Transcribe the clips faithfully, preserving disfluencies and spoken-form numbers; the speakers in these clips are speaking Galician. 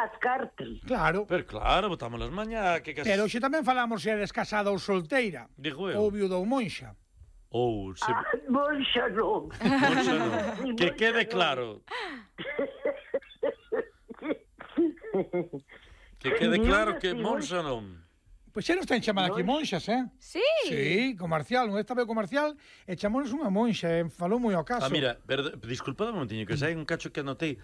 as cartas. Claro. Pero claro, botamos as mañá que cas... Pero hoxe tamén falamos se eres casada ou solteira. Digo eu. Ou viuda ou monxa. Ou se... Ah, monxa non. Monxa non. Que quede claro. Que quede claro que monxa non. Pois xa nos ten chamado aquí monxas, eh? Sí. Sí, comercial, un esta vez comercial e chamonos unha monxa, e falou moi ao caso. Ah, mira, pero, disculpad un momentiño, que sai un cacho que anotei.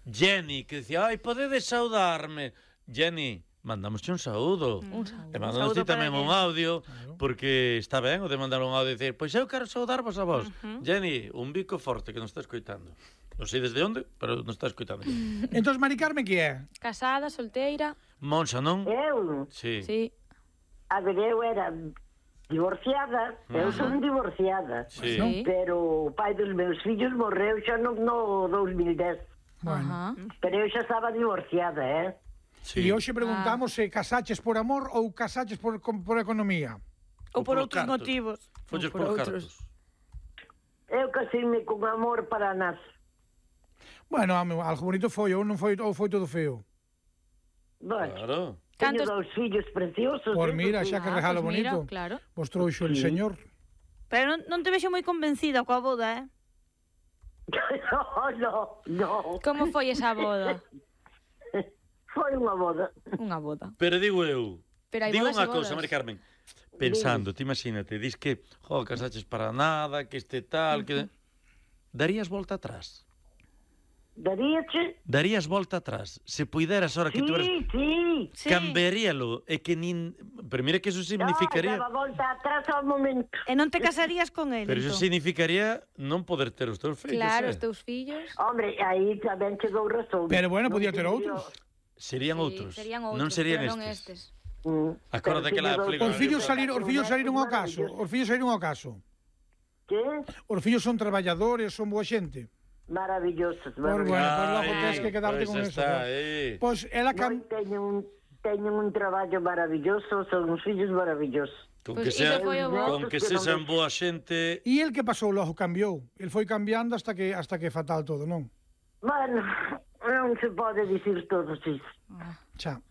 Jenny, que dicía, ai, podedes saudarme. Jenny, mandamosche un saúdo. Un saúdo. E mandamos ti tamén un audio, porque está ben o de mandar un audio e dicir, pois eu quero saudarvos a vos. Uh-huh. Jenny, un bico forte que nos está escoitando. Non sei desde onde, pero nos está escoitando. Entón, Mari Carmen, que é? Casada, solteira. Monxa, non? Eu? Sí. Sí. A ver, eu era divorciada, eu son divorciada. Sí. Sí. Pero o pai dos meus fillos morreu xa no, no dos mil dez. Bueno. Ajá. Pero eu xa estaba divorciada, eh? Sí. E hoxe preguntamos se casaches por amor ou casaches por, por economía. Ou por polo outros cartos. motivos. Folles Ou por outros. cartos. Eu casei-me con amor para nas. Bueno, home, algo bonito foi, ou non foi, ou foi todo feo. Bueno, Claro. teño Cantos- dous fillos preciosos. Por eh, mira, xa que Ah, regalo pues mira, bonito. claro. Vos trouxo el señor. Pero non, non te vexo moi convencida coa boda, eh? No, no, no. Como foi esa boda? Foi unha boda. Unha boda. Pero digo eu, Pero hai digo bodas unha e cousa, bodas. Mari Carmen, pensando, ti imagínate, dis que, jo, casaches para nada, que este tal, que... Darías volta atrás? Daríache? Darías volta atrás? Se puideras, ahora que Sí, tú eres... sí. Sí. Cambiaríalo, e que nin... Pero mira que eso significaría... No, daba volta atrás ao momento. E non te casarías con el, Pero eso entón? significaría non poder ter os teus fillos, Claro, eh? os teus fillos. Hombre, aí tamén chegou razón. Pero bueno, Non podía ter digo- outros. Serían Sí, outros. serían outros, non serían pero non estes. estes. Mm. Acórdate que la Pero película- Os fillos salir, saliron, os fillos saliron ao caso. Os fillos saliron ao caso. Que? Os fillos son traballadores, son boa xente. Maravillosos, Por maravillosos. bueno, pues logo Ai, tens que quedarte pois con eso. está, ¿no? eh. Pois ela Moi, cam... teñen un, teñen un traballo maravilloso, son uns fillos maravillosos. Con Pois que iso sean, foi o bo. con que sexan boa xente... E el que pasou logo cambiou. El foi cambiando hasta que hasta que fatal todo, non? Bueno, non se pode dicir todo iso. Xa.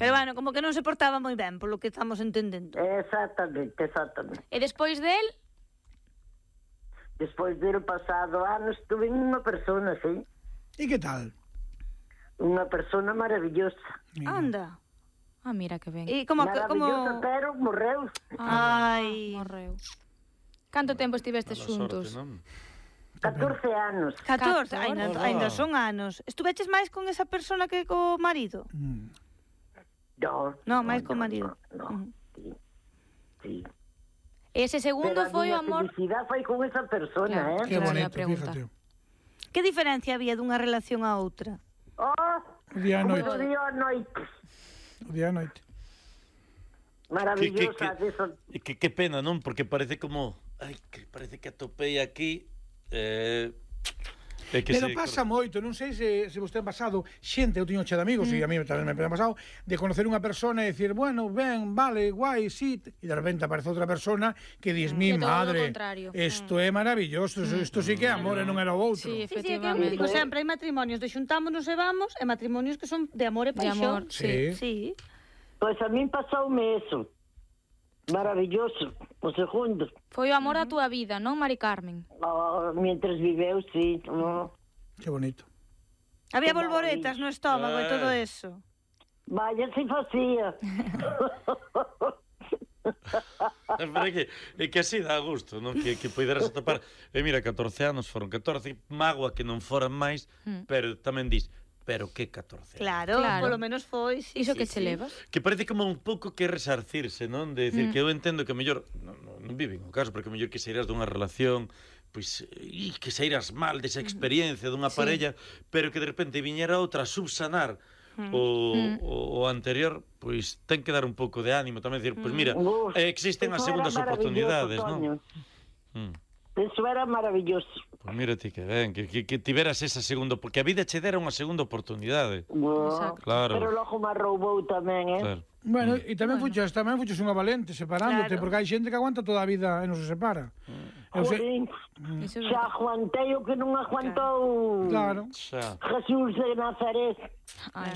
Pero bueno, como que non se portaba moi ben, polo que estamos entendendo. Exactamente, exactamente. E despois del, Despois do pasado ano estuve en unha persona, sí. E que tal? Unha persona maravillosa. Anda. ah, mira que ben. E como... Maravillosa, como... pero morreu. Ai... Morreu. Canto tempo estivestes Mala xuntos? sorte, non? catorce anos. catorce, catorce. ainda, ainda son anos. Estuveches máis con esa persona que co marido? Mm. No, No, máis co marido. No, Ujú. sí, sí. Ese segundo Pero a foi o miña amor... felicidade foi con esa persona, Claro. eh? Que Esa era a bonito, pregunta. fíjate. Que diferencia había dunha relación a outra? Oh, O día a como noite. o día a noite. O día a noite. Que, que, Maravillosa, que, eso. que, que pena, non? Porque parece como... Ai, que parece que atopei aquí... Eh, é que Pero se- pasa moito, non sei se, se vos ten pasado xente, eu teño che de amigos, mm. e a mí tamén me ten pasado, de conocer unha persona e dicir, bueno, ben, vale, guai, sí, e de repente aparece outra persona que dis, mi Que todo o madre, contrario. isto é maravilloso, isto sí que é amor e non era o outro. Sí, Sí, sí, é que eu efectivamente. digo sempre, hai matrimonios de xuntámonos e vamos, e matrimonios que son de amor e De paixón. amor, sí. Sí. Pois a min pasoume eso. Maravilloso, o segundo. Foi o amor da túa vida, non, Mari Carmen? Oh, mientras viveu, sí. Oh. Que bonito. Había Que volvoretas no estómago e todo Ai. eso. Vaya, se facía. Pero é que, é que así dá gusto, non? Que, que poideras atopar. E mira, catorce anos foron catorce, mágoa que non foran máis, pero tamén dis, pero que catorce anos? Claro, Claro. polo menos foi. Sí, Iso sí, que che sí. levas? Que parece como un pouco que resarcirse, non? De decir, mm. que eu entendo que mellor non, non, non viven o caso, porque mellor que sairás dunha relación, pois, e que sairás mal desa experiencia dunha Sí. parella, pero que de repente viñera outra a subsanar o, o, o anterior, pois ten que dar un pouco de ánimo tamén, decir, pois mira, Uf, eh, existen as eso era segundas oportunidades, maravilloso, non? Mm. Eso era maravilloso. Pois mira ti que ben, que, que, que tiveras esa segunda, porque a vida che dera unha segunda oportunidade. Oh, Exacto. Claro. Pero logo me roubou tamén, eh? Claro. Bueno, e tamén Bueno. fuches, tamén fuches unha valente separándote, Claro. porque hai xente que aguanta toda a vida e non se separa. Eu sei, Jolín, Iso é xa verdade. aguantei o que non aguantou claro. Xa. Jesús de Nazaret. Ai,